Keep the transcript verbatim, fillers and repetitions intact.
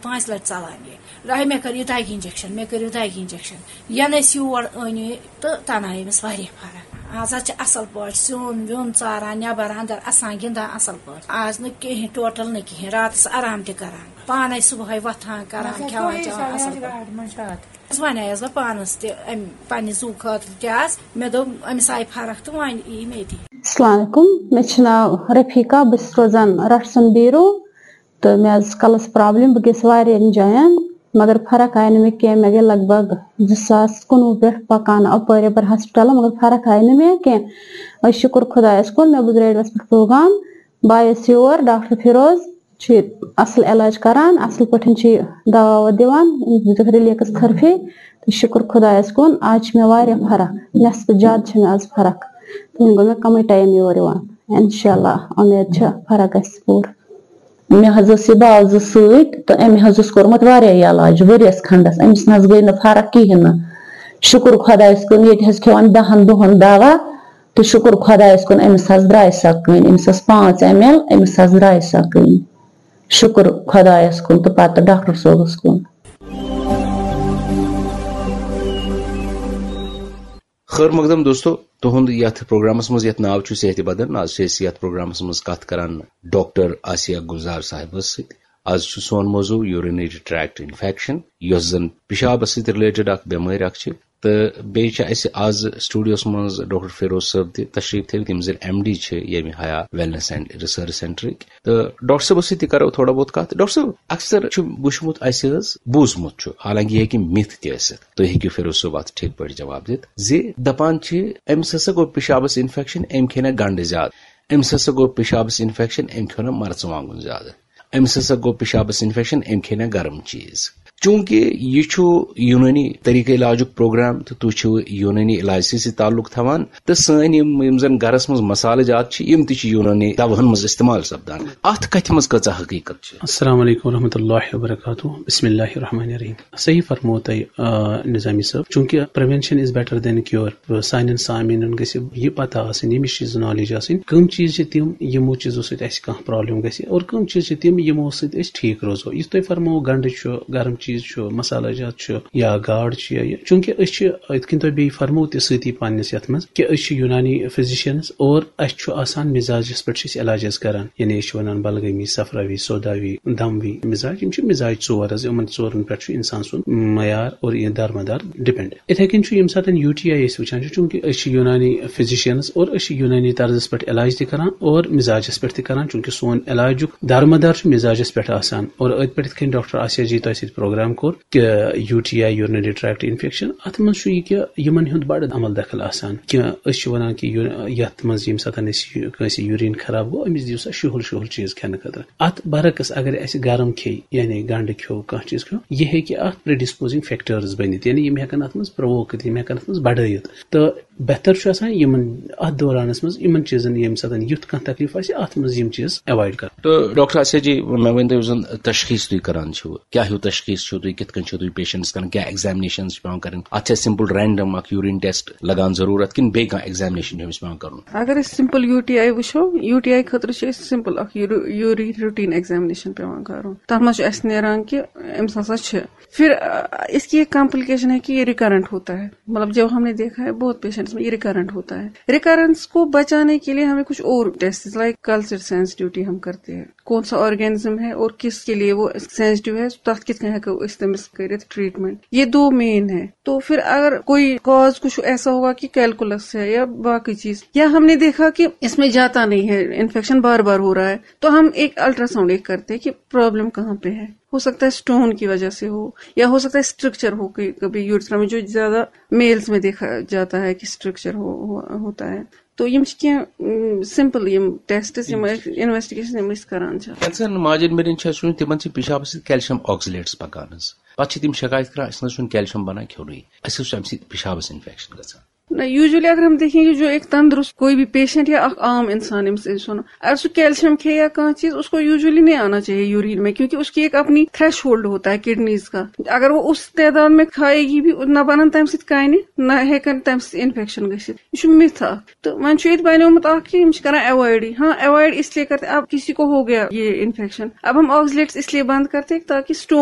پانٛژِ لٹہِ ژلان یہِ۔ راہہِ مےٚ کٔر یہِ دگہِ انجیکشن، مےٚ کٔرِو دگہِ انجیکشن۔ ینہٕ أسۍ یور أنۍ یہِ تہٕ تنہٕ آیہِ أمِس واریاہ فرق۔ آز حظ چھِ اصل پٲٹھۍ سیُن ویُن ژاران، نٮ۪بر اندر اسان، گِنٛدان اصل پٲٹھۍ۔ آز نہٕ کِہیٖنۍ، ٹوٹل نہٕ کِہیٖنۍ۔ راتس آرام تہِ کران، پانے صبحٲے وۄتھان، کران، کھٮ۪وان چٮ۪وان اصل پٲٹھۍ۔ حظ ونیس بہٕ پانس تہِ امہِ پننہِ زُو خٲطرٕ تہِ آز۔ مےٚ دوٚپ أمِس آیہِ فرق تہٕ وۄنۍ یی مےٚ تہِ۔ السلام علیکم، مےٚ چھُ ناو رفیقہ، بہٕ چھَس روزان رٹسُن بیٖرو، تہٕ مےٚ حظ ٲس کَلَس پرابلم، بہٕ گٔیَس واریاہَن جایَن، مگر فرق آیہِ نہٕ مےٚ کینٛہہ۔ مےٚ گٔے لگ بگ زٕ ساس کُنوُہ پٮ۪ٹھ پَکان اَپٲرۍ یَپٲرۍ ہسپتالَن، مگر فرق آیہِ نہٕ مےٚ کینٛہہ۔ أسۍ شُکُر خۄدایَس کُن، مےٚ بوٗز ریڈیوَس پٮ۪ٹھ پروگرام، بہٕ آیَس یور، ڈاکٹر فیروز چھُ اَصٕل علاج کران، اَصٕل پٲٹھۍ چھُ یہِ دوا ووا دِوان، أمِس دِتُکھ ریلیکس تھرپی، تہٕ شُکُر خۄدایَس کُن، آز چھِ مےٚ واریاہ فرق، نٮ۪صفہٕ زیادٕ چھِ مےٚ آز فرق۔ تہٕ وۄنۍ گوٚو مےٚ کَمٕے ٹایم یور یِوان۔ انشاءاللہ، اُمید چھِ فرق گژھِ پوٗرٕ۔ مےٚ حظ ٲس یہِ بال زٕ سۭتۍ تہٕ أمۍ حظ اوس کوٚرمُت واریاہ علاج ؤریَس کھنٛڈَس، أمِس نہ حظ گٔے نہٕ فرق کِہیٖنۍ نہٕ۔ شُکُر خۄدایَس کُن، ییٚتہِ حظ کھیوٚوَن دَہَن دۄہَن دوا تہٕ شُکُر خۄدایَس کُن، أمِس حظ درٛاے سۄ کٔنۍ، أمِس ٲس پانٛژھ ایم ایل، أمِس حظ درٛاے سۄ کٔنۍ۔ شُکُر خۄدایَس کُن تہٕ پَتہٕ ڈاکٹر صٲبَس کُن۔ خٲر مقدم دوستو، تُہُنٛد یَتھ پروگرامَس منٛز یَتھ ناو چھُ صحت بدن، آز چھِ أسۍ یَتھ پروگرامَس منٛز کَتھ کران ڈاکٹر آسیہ گُلزار صاحبَس سۭتۍ۔ آز چھُ سون موضوع urinary tract infection، یۄس زَن پِشابَس سۭتۍ رِلیٹڈ اَکھ بٮ۪مٲرۍ اَکھ چھِ۔ تہٕ بیٚیہِ چھِ اَسہِ آز سٹوڈیوَس منٛز ڈاکٹر فیروز صٲب تہِ تشریٖف تھٲوِتھ، یِم زَن ایم ڈی چھِ ییٚمہِ حیا ویلنس اینڈ ریسرچ سینٹرٕکۍ۔ تہٕ ڈاکٹر صٲبَس سۭتۍ تہِ کَرو تھوڑا بہت کَتھ۔ ڈاکٹر صٲب، اکثر چھُ وٕچھمُت اَسہِ حظ، بوٗزمُت چھُ، حالانکہِ یہِ ہیٚکہِ مِتھ تہِ ٲسِتھ، تُہۍ ہیٚکِو فیروز صٲب اَتھ ٹھیٖک پٲٹھۍ جواب دِتھ زِ دَپان چھِ، أمِس ہسا گوٚو پِشابَس انفیکشن، أمۍ کھیٚیہِ نہ گنڈٕ زیادٕ، أمِس ہسا گوٚو پِشابَس انفیکشن، أمۍ کھیوٚو نہ مرژٕوانٛگُن زیادٕ، أمِس ہسا گوٚو پِشابَس انفیکشن، أمۍ کھیٚیہِ نہ گرم چیٖز۔ چوٗنٛکہِ یہِ چھُ یوٗنٲنی طریٖقہٕ علاجُک پروگرام تہٕ تُہۍ چھِو یوٗنٲنی علاجسٕے سۭتۍ تعلق تھاوان، تہٕ سٲنۍ یِم، یِم زَن گَرَس منٛز مصالہٕ جات چھِ، یِم تہِ چھِ یوٗنٲنی دَوہَن منٛز استعمال سَپدان۔ اَتھ کَتھِ منٛز کۭژاہ حقیٖقت چھِ؟ السلام علیکم ورحمۃ اللہ وبرکاتہ۔ بسم اللہ الرحمن الرحیم۔ صحیح فرموو تۄہہِ، آ، نظامی صٲب، چوٗنٛکہِ prevention is better than cure۔ سانٮ۪ن سامعیٖنَن گژھِ یہِ پتہ آسٕنۍ، ییٚمِچ چیٖز نالیج آسٕنۍ، کٕم چیٖز چھِ تِم، یِمو چیٖزو سۭتۍ اَسہِ کانٛہہ پرابلم گژھِ، اور کٕم چیٖز چھِ تِم، یِمو سۭتۍ أسۍ ٹھیٖک روزو۔ یُتھ تۄہہِ فرموو، گنڈٕ چھُ، گرم چیٖز چھُ، مسالہٕ جات چھُ، یا گاڈ چھُ، یا یہِ، چوٗنٛکہِ أسۍ چھِ، یِتھ کٔنۍ تۄہہِ بیٚیہِ فرموو تہِ سۭتی پننِس یَتھ منٛز، کہِ أسۍ چھِ یوٗنانی physicians، اور اَسہِ چھُ آسان مِزاجَس پٮ۪ٹھ چھِ أسۍ علاج حظ کران، یعنی أسۍ چھِ وَنان بلغمی، صفراوی، سوداوی، دموی مِزاج، یِم چھِ مِزاج ژور حظ، یِمن ژورن پٮ۪ٹھ چھُ اِنسان سُنٛد معیار اور یہِ دارمدار ڈِپینڈ۔ یِتھے کٔنۍ چھُ ییٚمہِ ساتہٕ یوٗ ٹی آی أسۍ وٕچھان چھِ، چوٗنٛکہِ أسۍ چھِ یوٗنانی physicians اور أسۍ چھِ یوٗنانی طرزس پٮ۪ٹھ علاج تہِ کران اور مِزاجس پٮ۪ٹھ تہِ کران، چوٗنٛکہِ سون علاجُک دارمدار چھُ مِزاجس پٮ۪ٹھ آسان۔ اور أتھۍ پٮ۪ٹھ یِتھ کٔنۍ ڈاکٹر آسیا جی تۄہہِ سۭتۍ پروگرام کوٚر کہِ U T I, urinary tract infection، اتھ منٛز چھُ یہِ کہِ یِمن ہُنٛد بڑٕ عمل دخل آسان کہِ أسۍ چھِ ونان کہِ یو-، یتھ منٛز ییٚمہِ ساتہٕ أسۍ یہِ، کٲنٛسہِ یوٗریٖن خراب گوٚو، أمِس دِیِو سا شُہُل شُہُل چیٖز کھٮ۪نہٕ خٲطرٕ۔ اتھ برعکس اگر اسہِ گرم کھیٚیہِ، یعنی گنڈٕ کھیوٚو، کانٛہہ چیٖز کھیوٚو، یہِ ہیٚکہِ اتھ predisposing factors بٔنِتھ، یعنی یِم ہیٚکن اتھ منٛز provoke کٔرِتھ، یِم ہیٚکن اتھ منٛز بڑٲیِتھ۔ تہٕ بہتر چھُ آسان یِمن، اتھ دورانس منٛز یِمن چیٖزن، ییٚمہِ ساتہٕ یُتھ کانٛہہ تکلیف آسہِ، اتھ منٛز یِم چیٖز avoid کرٕنۍ۔ تہٕ ڈاکٹر آسیا جی، مےٚ ؤنۍ تو، یُس زن تشخیص تُہۍ کران چھِو، کیٛاہ ہیوٗ تشخیص چھِو تُہۍ، کِتھ کٔنۍ چھِو تُہۍ patients کران، کیٛاہ examinations چھِ پٮ۪وان کرٕنۍ؟ اتھ چھا simple random اکھ urine test لگان ضروٗرت کِنہٕ بیٚیہِ کانٛہہ examination چھِ أمِس پٮ۪وان کرُن؟ اگر أسۍ simple یوٗ ٹی آی وٕچھو، یوٗ ٹی آی خٲطرٕ چھِ أسۍ simple اکھ یوٗری-، urine routine examination پٮ۪وان کرُن۔ تتھ منٛز چھُ اسہِ نیران کہِ أمِس ہسا چھِ۔ پھر، آ، اس کی ایک complication ہے کہ یہ recurrent ہوتا ہے۔ مطلب، جو ہم نے دیکھا ہے، بہت پیشنٹس میں یہ ریکرنٹ ہوتا ہے۔ ریکرنس کو بچانے کے لیے ہمیں کچھ اور ٹیسٹ، لائک کلچر سینسٹیوٹی ہم کرتے ہیں، کون سا آرگینزم ہے اور کس کے لیے وہ سینسٹیو ہے، تتھ کِتھ کٔنۍ ہٮ۪کو أسۍ تٔمِس کٔرِتھ ٹریٹمنٹ۔ یہ دو مین ہے۔ تو پھر اگر کوئی کاز کچھ ایسا ہوگا کہ کیلکولس ہے یا باقی چیز، یا ہم نے دیکھا کہ اس میں جاتا نہیں ہے، انفیکشن بار بار ہو رہا ہے، تو ہم ایک الٹراساؤنڈ ایک کرتے ہیں کہ پرابلم کہاں پہ ہے۔ ہو سکتا ہے اسٹون کی وجہ سے ہو، یا ہو سکتا ہے اسٹرکچر ہو، کہ کبھی یورتھرا میں جو زیادہ میلز میں دیکھا جاتا ہے کہ اسٹرکچر ہو، ہو، ہوتا ہے۔ تو یِم چھِ کینٛہہ، ام، سمپل یِم ٹیسٹس، یِم انویسٹیگیشن یِم أسۍ کران چھِ۔ ییٚلہِ زن ماجن بیٚنٮ۪ن چھِ آسان، تِمن چھِ پِشابس سۭتۍ کیلشیم آکسلیٹس پکان حظ۔ پتہٕ چھِ تِم شکایت کران، اسہِ نہ حظ چھُنہٕ کیلشیم بنان کھیوٚنُے، اسہِ حظ چھُ امہِ سۭتۍ پِشابس انفیکشن گژھان۔ نہ، usually اگر ہم دیکھیں کہ جو ایک تندرست کوئی بھی پیشنٹ یا اکھ عام انسان، ییٚمِس أسۍ وَنو، اگر سُہ کیلشیم کھیٚیہِ یا کانٛہہ چیٖز، اس کو usually نہیں آنا چاہیے یوریٖن میں، کیونکہ اس کی ایک اپنی تھریش ہولڈ ہوتا ہے کڈنیز کا۔ اگر وہ اس تعداد میں کھائے گی بھی، نہ بنن تمہِ سۭتۍ کَنہِ، نہ ہیٚکن تمہِ سۭتۍ انفیکشن گٔژھِتھ۔ یہِ چھُ مِتھ اکھ۔ تہٕ وۄنۍ چھُ ییٚتہِ بنیومُت اکھ کہ یِم چھِ کران ایوایڈٕے۔ ہاں، ایوایڈ اس لیے کرتے، اب کسی کو ہو گیا یہ انفیکشن، اب ہم آکسلیٹس اس لیے بند کرتے تاکہ اسٹون